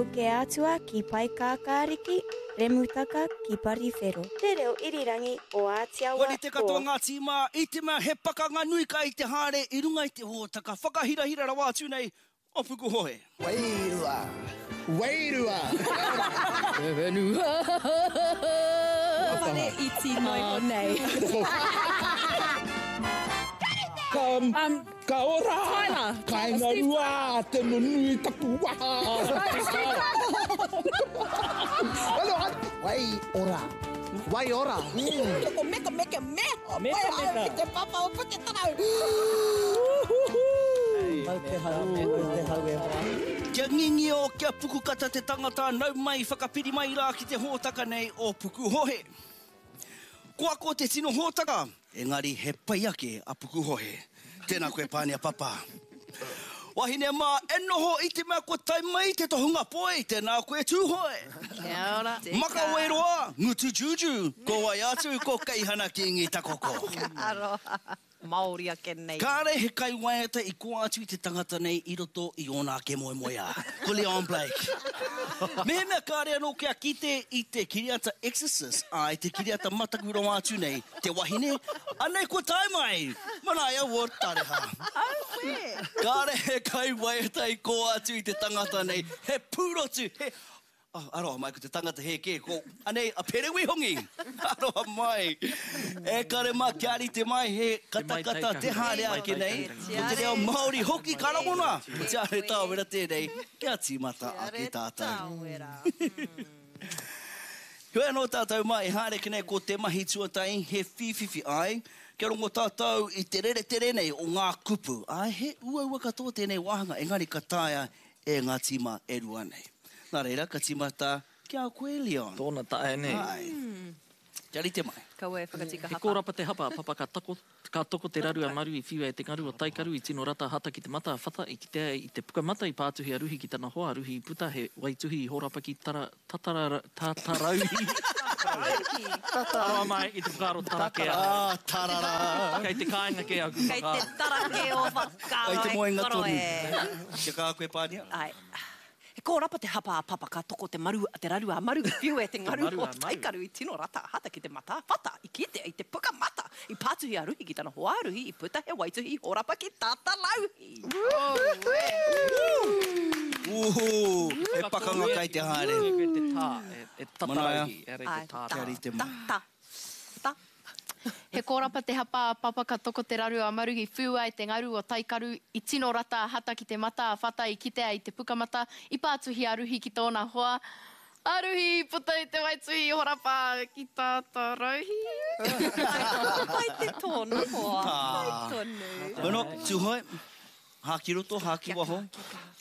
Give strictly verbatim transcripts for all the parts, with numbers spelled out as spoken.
Pukeatua ki Paekākāriki, Remutaka ki Pariwhero. Te reo irirangi o Ātiawa Kua rite ko. Katoa ngā tīma i te mea he pakanga nui kai te haere i runga i te hōtaka whakahirahira rawa atu nei o Pukuhohe. Wairua! Wairua! Te whenua! Whare iti noiho nei. Ka, Um, ka ora! Tyler. Kainga rua, te nunui taku waha! Wai ora. Wai ora. Mm. Ko meka meka me. Meka meka. Ki te papa o Puketarau. Mau te hau, mau te hau e hoa. Kia ngingio, kia pukukata te tangata, nau mai, whakapiri mai rā ki te hōtaka nei o Pukuhohe. Ko ako te tino hōtaka, engari he pai ake a Pukuhohe. Tēnā koe Pānia Papa. Wahine mā, e noho i te mea kua tae mai te tohunga poi, tēnā koe Tūhoe. Kia ora. Makawe roa, ngutu juju, ko wai atu ko Keihana Kingi Takoko. Ka aroha. Māori ake nei. Kāre he kaiwaiata i koa atu i te tangata nei i roto i ōna ake moemoeā. Ko Leon Blake. Mehemea kāre anō kia kite i te kiriata Exorcist, ā, i te kiriata mataku rawa atu nei, te wahine, anei kua tae mai! Manaia Ward Tareha. Auē! Kāre he kaiwaiata i koa atu i te tangata nei, he pūrotu, he. Oh, aroha mai, ko te tangata hē kē, ko, anei, a Pere Wihongi! Aroha mai! E kare mā, kia rite mai, he katakata te haere ake nei, ko te reo Māori hoki ka rangona! Ko Te Are Tāwera tēnei, kia tīmata ake tātou. Heoi anō tātou mā, e haere ake nei ko te mahi tuatahi, he whīwhiwhi, āe, kia rongo tātou i te reretere nei o ngā kupu, āe, he uaua katoa tēnei wāhanga, engari ka taea e ngā tīma e rua nei. Nā reira, ka tīmata ki a koe, Leon. Tōna tae nei. Āe. Kia rite mai. Kaua e whakatika He hapa. kōrapa te hapa, papa ka tako, ka toko te raru a Maru i whiua e te ngaru o Taikaru i tino rata hata ki te mata a Whata i kitea i te pukamata i pātuhi a Ruhi ki tana hoa a Ruhi i puta he waituhi i hōrapa ki tara, tatara, tatarauhi. Aroha mai i te whakaaro tarake ahau. Ah, tarara. Kei te kāinga kē aku Kei te whakaaro. tarake o whakaaro Kei te e moenga koro tonu. e. Kia kaha koe, Pānia. Āe. He kōrapa te hapa a Papa ka toko te maru te raru a Maru i whiu e te ngaru Te maru o a Maru. Taikaru i tino rata a Hata ki te mata a Whata i kitea i te puka mata i pātuhi a Ruhi ki tana hoa a Ruhi i puta he waituhi i hōrapa ki Tātarauhi. Ooh, he pakanga kai te haere. Koe te tā, e Manaia. tatarauhi, ehara i te tā. Kia rite mai. Ta, ta, ta. He kōrapa te hapa a Papa ka toko te raru a Maru i whiua e te ngaru o Taikaru i tino rata a Hata ki te mata a Whata i kitea i te pukamata i pātuhi a Ruhi ki tōna hoa a Ruhi i puta i te waituhi i horapa ki Tātarauhi. Pai te tōna hoa, pai tonu. Bueno, Tūhoe, hā ki roto, hā ki waho,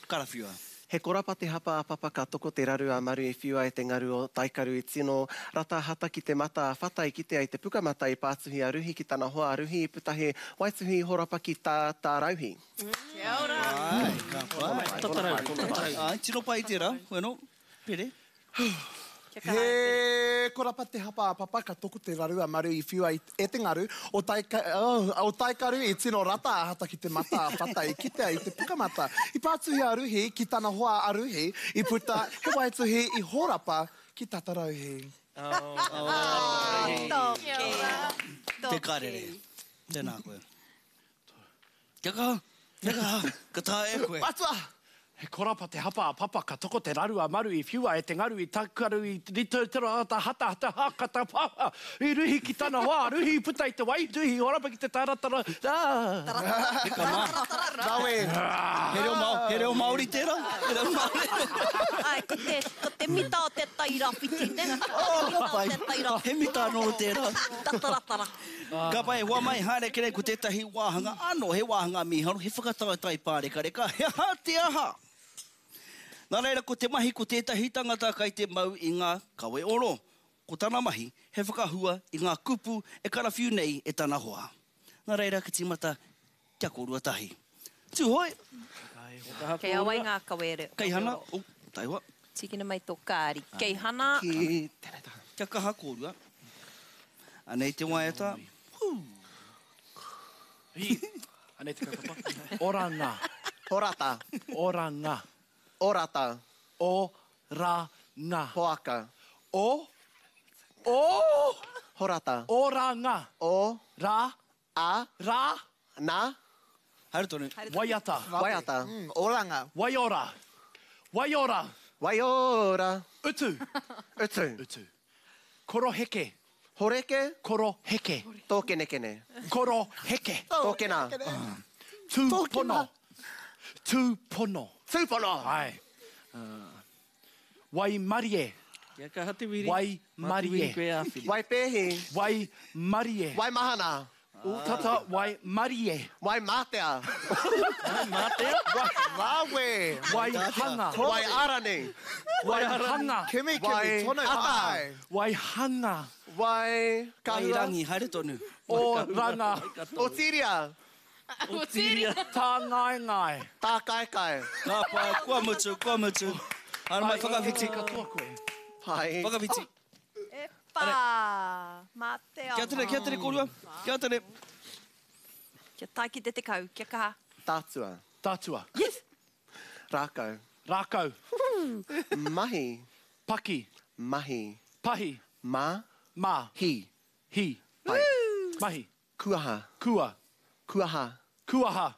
karawhiua. He korapa te hapa a Papa ka toko te raru a Maru i whiua e te ngaru o Taikaru i tino rata hata ki te mata a Whata i kitea i te pukamata i pātuhi a Ruhi ki tana hoa a Ruhi i puta he waituhi i horapa ki tā Tārauhi. Kia ora. Ai, ka pai. Tatarauhi, tatarauhi. Ai, tino pai tērā. Bueno, Pere. Kia kaha e Pere. He korapa te hapa a Papa ka toko te raru a Maru i whiua e te ngaru o, taika, oh, o Taikaru i tino rata a Hata ki te mata a Whata i kitea i te pukamata. I pātuhi a Ruhi ki tana hoa a Ruhi i puta he waituhi i hōrapa ki Tatarauhi. Oh, toki. Te karere. Tēnā koe. Kia kaha, kia kaha, ka taea e koe. Atua! He korapa te hapa a Papa ka toko te raru a Maru i whiua e te ngaru i Taikaru i rito te rata hata hata hakata papa i ruhi ki tana hoa a Ruhi i puta i te waituhi i horapa ki te taratara Heka mā. Rawe! He reo Māori, he reo Māori tērā? He reo Māori. Ai, ko te, ko te mita o te tairawhiti, ne? Oh, Ko te ka mita o pai. te tairawhiti. He mita anō tērā. Tataratara. Ka pai, hoa mai, haere ake nei ko tētahi wāhanga anō, he wāhanga mīharo, he whakataetae pārekareka, he aha te aha? Nā reira, ko te mahi ko tētahi tangata kai te mau i ngā kawe oro. Ko tana mahi, he whakahua i ngā kupu e karawhiu nei e tana hoa. Nā reira, ka tīmata kia kōrua tahi. Tūhoe! Kei a wai ngā kawe oro? Keihana, oh, taihoa. Tīkina mai tō kāri. Keihana. Ki tēnei taha. Kia kaha kōrua. Anei te waiata. Hū! Hi! Anei te kaupapa. Oranga. Orata. Oranga. Orata. O ra, nga. Poaka. O. O. Horata. Oranga. O. Ra. A. Ra. Na. Haere tonu. Waiata. Waiata. Mm, oranga. Waiora. Waiora. Waiora. Utu. Utu. Utu. Koroheke. Horeke. Koroheke. Tōkenekene. Koroheke. Tōkena. Tūpono. Tūpono. Tūpono. Ai. Uh, Waimarie. Kia kaha te wiri. Waimarie. Waipēhi. Waimarie. Waimahana. Tata waimarie. Waimātea. Waimatea? Rawe. Waihanga. Waiarani. Waihanga. Kimi, kimi, tono. Ata. Waihanga. Wai... Wairangi, haere tonu. Oranga. Otiria. Otiria. Tāngaengae. Tākaekai. Ka pai, kua mutu, kua mutu. Haere mai, whakawhiti. Katoa koe. Pai. Whakawhiti. E whā. Mā te Kia tere, kia tere kōrua. Kia tere. Kia tae ki te tekau, kia kaha. Tātua. Tātua. Yes. Rākau. Rākau. Mahi. Paki. Mahi. Pahi. Ma. Mā. Hi. Hi. Pai. Mahi. Kuaha. Kua. Kuaha. Kuaha.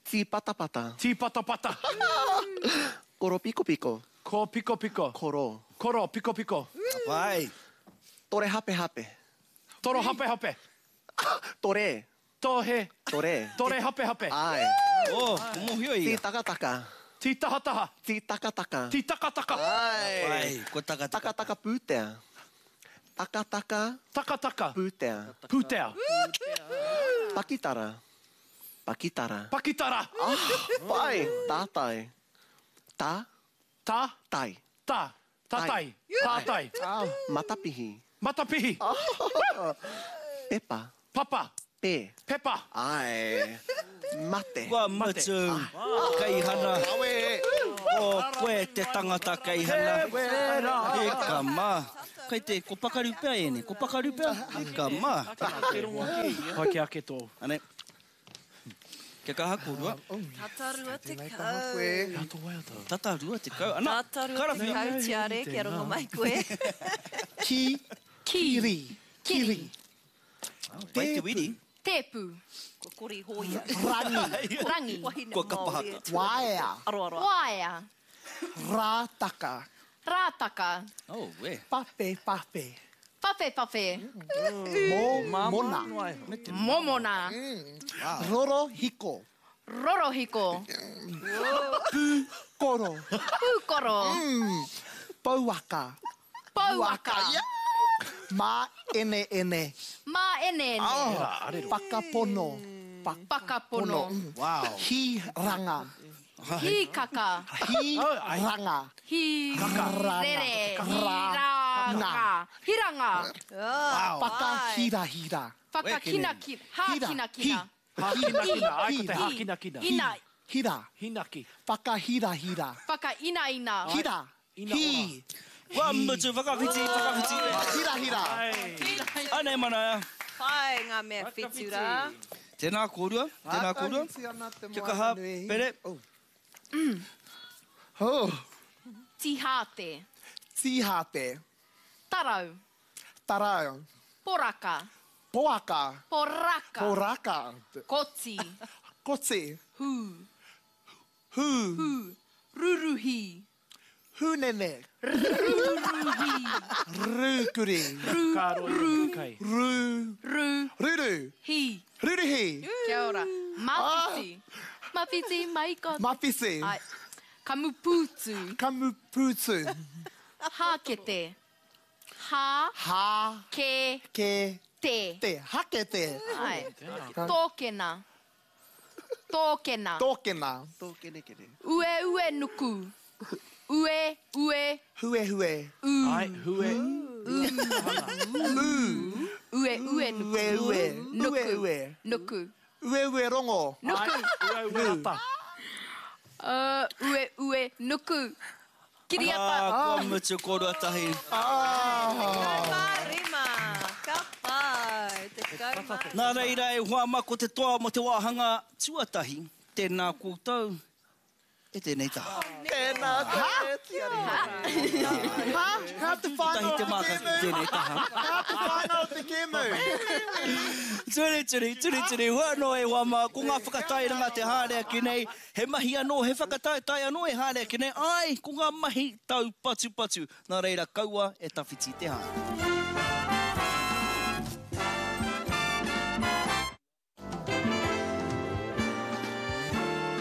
Tīpatapata. Tīpatapata. Koro piko piko. Ko piko piko. Koro. Koro piko piko. Pai. Tore hape hape. Toro hape hape. Tore. Tohe. Tore. Tore hape hape. Ai. Oh, mōhio ia. Tītakataka. Tītahataha. Tītakataka. Tītakataka. Ai. Pai, kua takataka. Takataka pūtea. Takataka. Takataka. Pūtea. Pūtea. Pakitara. Pakitara. Pakitara. Ah, pai. Tātai. Tā. Ta. Tai. Ta. Tatai. Tātai. Matapihi. Matapihi. Pepa. Papa. Pē. Pepa. Ai. Mate. Kua mutu. Kaihana. O koe te tangata kaihana. E ka mā. Kai te, ko pakaru pea ene. Ko pakaru pea. E ka mā. Pai kia ake tō. Ane. Kia kaha kōrua. Tata rua tekau. Tata rua tekau. Ana, Tata rua tekau, tiare, kia rongo mai koe. Ki. Kiri. Kiri. Pai te wiri. Tēpu. Kua kori hōia. Rangi. Rangi. Kua kapahaka. Waea. Aro, aro. Waea. Rātaka. Rātaka. Oh, we. Pape, pape. Pape, pape. Mo, mona. Momona. Roro hiko. Rorohiko. Pūkoro. Pūkoro. Pouaka. Pouaka. Ma ene ene. Mā ene ene. Whakapono. Whakapono. Wow. Hiranga. Hikaka. Hiranga. Hirere. Hiranga. Hiranga. Whakahirahira. Whakakinakina. Hākinakina. Hākinakina. Ai, ko te hākinakina. Ina. Hira. Hinaki. Whakahirahira. Whakainaina. Hira. Ina Hi. Kua mutu, whakawhiti, whakawhiti. Hira, hira. Anei manaia. Pai ngā mea whitu rā. Tēnā kōrua, tēnā kōrua. Kia kaha, pere. Oh. Tihāte. Tihāte. Tarau. Tarau. Poraka. Poaka. Poraka. Poraka. Koti. Koti. Hū. Hū. Hū. Ruruhi. Hūnene. Ruruhi. Rūkuri. Ru. Kāro i te kai. Rū. Ru. Ruru. Hi. Ruruhi. Kia ora. Mawhiti. Mawhiti mai ko. Mawhiti. Ai. Kamupūtu. Kamupūtu. Hākete. Hā. Hā. Ke. Ke. Te. Te. Hakete. Ai. Tōkena. Tōkena. Tōkena. Tōkenekene. Ue ue nuku. Ue, ue. Hue, hue. U. Ai, hue. U. Ue, ue, nuku. Ue, ue. Nuku. Ue, ue. Nuku. Ue, ue, rongo. Nuku. Ai, ue, ue, rata. Uh, ue, ue, nuku. Kiriata. Ah, kua mutu kōrua tahi. Tekau mā rima. Ka pai. Tekau mā rima. Nā reira e hoa mā ko te toa mo te wāhanga tuatahi. Tēnā koutou. e tēnei taha. Tēnā koe, Tiare. Ha? How te whānau Kotahi te māka ki tēnei taha. How te whānau o te kēmu. Turi, turi, turi, turi, hua anō e wā mā, ko ngā whakatairanga te haere ake nei, he mahi anō, he whakataetae anō e haere ake nei, ai, ko ngā mahi taupatupatu, nā reira kaua e tawhiti te haere.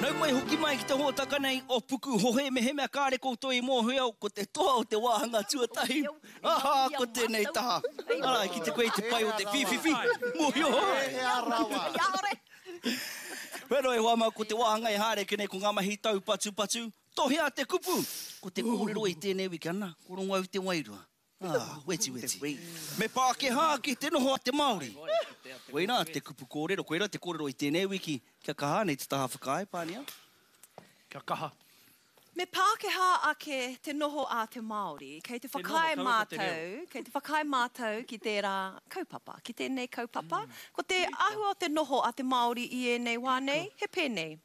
Nau mai hoki mai ki te hōtaka nei o Pukuhohe, mehemea kāre koutou i mōhio, ko te toa o te wāhanga tuatahi. Aha, ko tēnei taha. Arā, ki te koe i te pai o te whīwhiwhi. Mōhio. Wero e hoa mā, ko te wāhanga e haere ake nei, ko ngā mahi taupatupatu. Tohea te kupu! Ko te kōrero i tēnei wiki, ana, ko rongo au te wairua. Ah, weti weti. Me Pākehā ake te noho a te Māori. Koirā te kupu kōrero, koirā te kōrero i tēnei wiki. Kia kaha nei te taha whakaae, Pānia. Kia kaha. Me Pākehā ake te noho a te Māori. Kei te Te noho, whakaae kaua ko te reo. mātou, kei te whakaae mātou ki tērā kaupapa, ki tēnei kaupapa. Ko te āhua o te noho a te Māori i ēnei wā nei, he pēnei.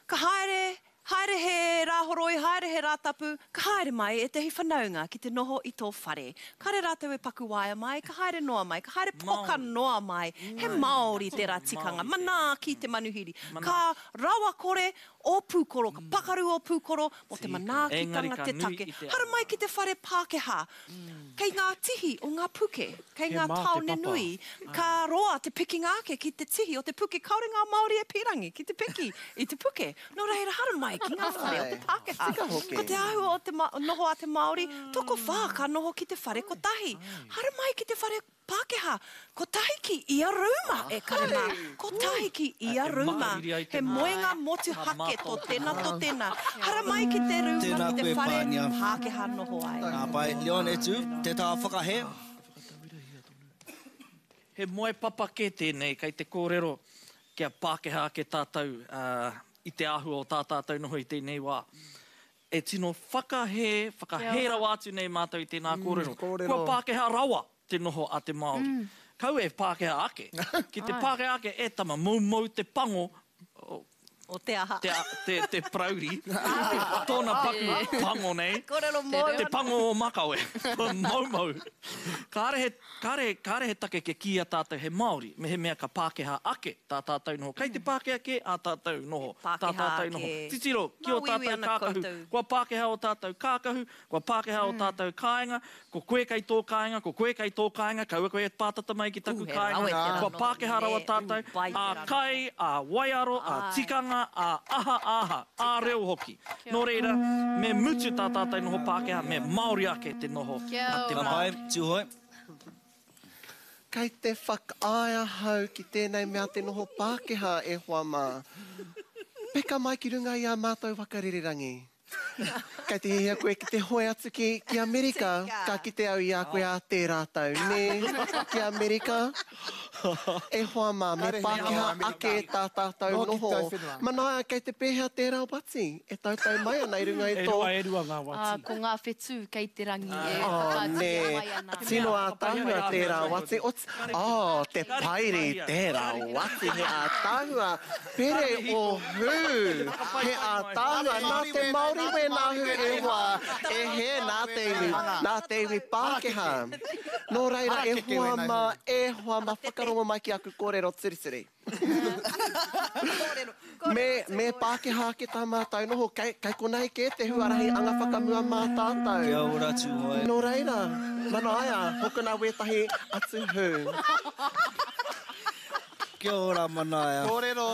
Ka haere, haere he rāhoroi, haere he rātapu, ka haere mai ētahi whanaunga ki te noho i tō whare. Kāre rātou e paku waea mai, ka haere noa mai, ka haere poka Māori. noa mai. He Māori tērā tikanga, manaaki te manuhiri. Ka rawakore o pūkoro, ka pakaru o pūkoro, mō te Tika. manaakitanga Engari ka te nui take. i te Haramai ki te whare Pākehā, kei ngā tihi o ngā puke, kei He ngā mā te tāone papa. nui, ka roa te pikinga ake ki te tihi o te puke, kāore ngā Māori e pīrangi ki te piki i te puke. Nō reira, haramai ki ngā whare o te Pākehā. Tika hoki. Ko te āhua o te ma noho a te Māori, tokowhā ka noho ki te whare kotahi. Haramai ki te whare Pākehā, kotahi ki ia rūma e kare mā. Kotahi ki ia E rūma. makariri ai te He mā. moenga motuhake tō tēnā tō tēnā. Haramai ki te rūma, Tēnā ki te koe, whare Pānia. Pākehā noho ai. Ngā pai, Leon e tū, te taha whakahe. He moe papa kē tēnei, kei te kōrero kia Pākehā ake tātou, uh, i te āhua o tā tātou noho i tēnei wā. E tino whakahē, whakahē rawa atu nei mātou i tēnā kōrero. kōrero. Kua Pākehā rawa te noho a te Māori. Kau e Pākehā ake. Ki te Pākehā ake e tama, moumou te pango, o, O te aha. te, te, te parauri, tōna paku pango nei, Kōrero mōu. te pango o makawe, moumou. Kāre he, kāre, kāre he take ke kīia tātou he Māori, mehemea ka Pākehā ake tā tātou noho. Kei te Pākehā kē ā tātou noho, tā Pākehā tātou noho. ake. Titiro, ki o Māuiui tātou ana kākahu. koutou. Kua Pākehā o tātou kākahu, kua Pākehā o tātou kāinga, ko koe kei tō kāinga, ko koe kei tō kāinga, kaua koe e pātata mai ki taku Ū, he kāinga. rawe te Kua rano. Pākehā rawa Ne, tātou, ū, pai te ā rano. kai, ā waiaro, ā Ai. tikanga, ā aha, aha, ā reo hoki. Nō reira, me mutu tā tātou noho Pākehā, me Māori ake te noho Kia a te Ka ora. pai, Māori. Tūhoe. Kei te whakaae ahau ki tēnei mea te noho Pākehā e hoa mā. Peka mai ki runga i a mātou whakarererangi. Kei te hiahia koe ki te hoe atu ki, ki Amerika, Tika. ka kite au i a koe a tērā tau, nē, ki Amerika. E hoa mā, me Kāre he Pākehā noho Amerika. ake tā tātou Noho ki noho. tau whenua. Manaia, kei te pēhea tērā wati, e tautau mai ana i runga i E tō rua, e rua ngā Ah, wati. ko ngā whetū kei te rangi e Oh, whakaaturia nē, mai ana. tino ātaahua tērā wati. Ot, oh, te pairi tērā wati, he ātaahua. Pere o hū, he ātaahua. Nā te Māori wēnā hu e hoa, e he nā te iwi, nā te iwi Pākehā. Nō reira, e hoa mā, e hoa mā, whakarongo mai ki aku kōrero turituri. Kōrero, kōrero Me, me Pākehā ake tā mātou noho, kei, kei konei kē te huarahi anga whakamua mā tātou. Kia ora, Tūhoe. Nō reira, manaia, hokona wētahi atu hū. Kia ora, Manaia. Kōrero.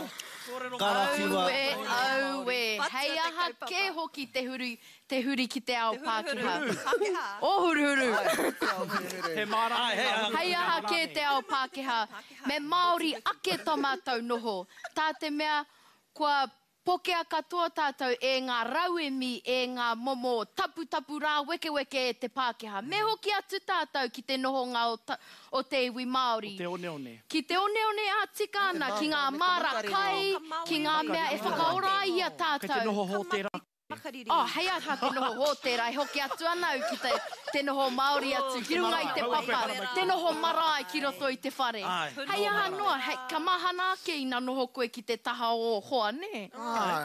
Karawhiua. Aue, aue. Patua Hei te aha kaupapa. kē hoki te huri, te huri ki te ao Te huruhuru. Pākehā. Pākehā. O huruhuru. He mārama. Ai, hei aha. Hei aha kē te ao Pākehā. Me Māori ake tō mātou noho. Tā te mea, kua pokea katoa tātou e ngā rauemi, e ngā momo taputapu rā wekeweke e te Pākehā. Me hoki atu tātou ki te nohonga o, ta, o te iwi Māori. Te oneone. Ki te oneone a tika ana, ki ngā māra kai, ki ngā mea e whakaora ai i a Kei te tātou. noho hō tērā Makariri. Oh, hei aha te noho hōtēra, e hoki atu ana au ki te, te noho Māori atu, ki runga i te papa, te noho marae ki roto i te whare. Hei aha noa, hei, ka mahana ake ina noho koe ki te taha o hoa, nē?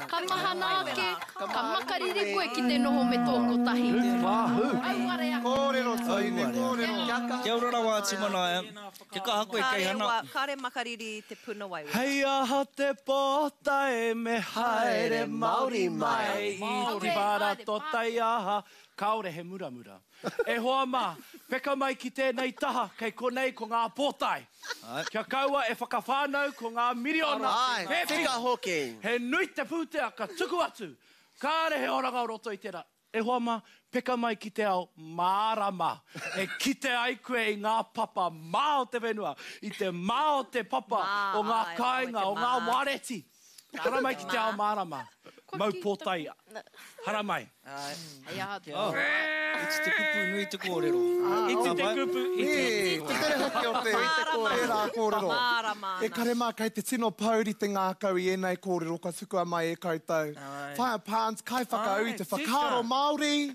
Ka mahana ake, ka makariri koe ki te noho me tō kotahi. Auare ake. Kōrero tūne, kōrero. Kia ora rawa atu Manaia. Kia kaha koe kei hana. Kāre makariri te puna waiwera. Hei aha te pōtae me haere Māori mai. I te whara tō taiaha, kāore he muramura. E hoa mā, peka mai ki tēnei taha, kei konei ko ngā pōtae. Kia kaua e whakawhānau ko ngā miriona. Ai, tika hoki. He nui te pūtea ka tuku atu. Kāre he oranga o roto i tērā. E hoa mā, peka mai ki te ao mārama. E kite ai koe i ngā papa mā o te whenua, i te mā o te papa, o ngā kāinga, o ngā wareti. Hara mai ki te ao mārama. Mau pōtai. Hara mai. Hei aha te Iti te kupu nui te kōrero. Iti te kupu, iti. Te tere hoki o te tērā kōrero. E kare mā, kei te tino pouri te ngākau i ēnei kōrero ka tukua mai e koutou. Whaia Pāns, kai whakaū i te whakaaro Māori.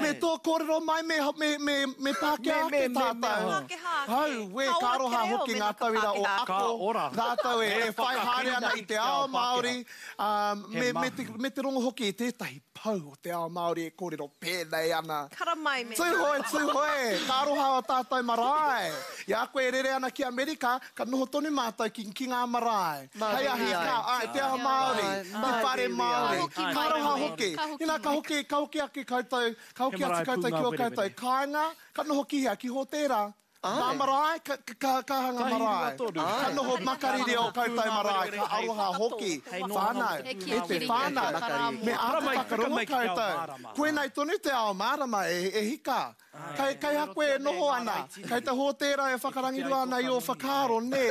Me tō kōrero mai, me, me, me, me Pākehā ake tātou. Hau, we, ka aroha hoki ngā tauira o ako. Rātou e, e whai haere ana i te ao Māori. Um, me, me, te, me te rongo hoki i tētahi pau o te ao Māori e kōrero pēnei ana. Karamai me. Tūhoe, tūhoe, ka aroha o tātou marae. I a koe e rere ana ki Amerika, ka noho tonu mātou ki, ki ngā marae. Hei ahi ka, ai, te ao Māori, te whare Māori. Ka aroha hoki. Ina, ka hoki, ka hoki ake koutou, ka hoki atu koutou ki o koutou kāinga, ka noho ki hea, ki hōtēra. Ngā marae, ka, ka, ka hanga marae. Ka noho makariri o koutou marae, ka aroha hoki. Whānau, e te whānau, me āta whakarongo koutou. Koinei tonu te ao mārama e, e hika. Kei, kei ha koe e noho ana, kei te hōtēra e whakarangirua ana i o whakaaro, nē.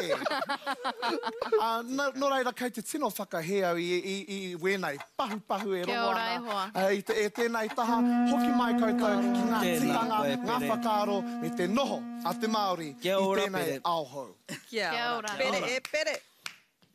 Uh, no, no reira, kei te tino whakahē au i, i, i wēnei pahupahu e rongo ana. Uh, i te, e tēnei taha, hoki mai koutou ki ngā tikanga, ngā whakaaro, me te noho a te Māori i tēnei ao hou. Kia ora. Pere e pere.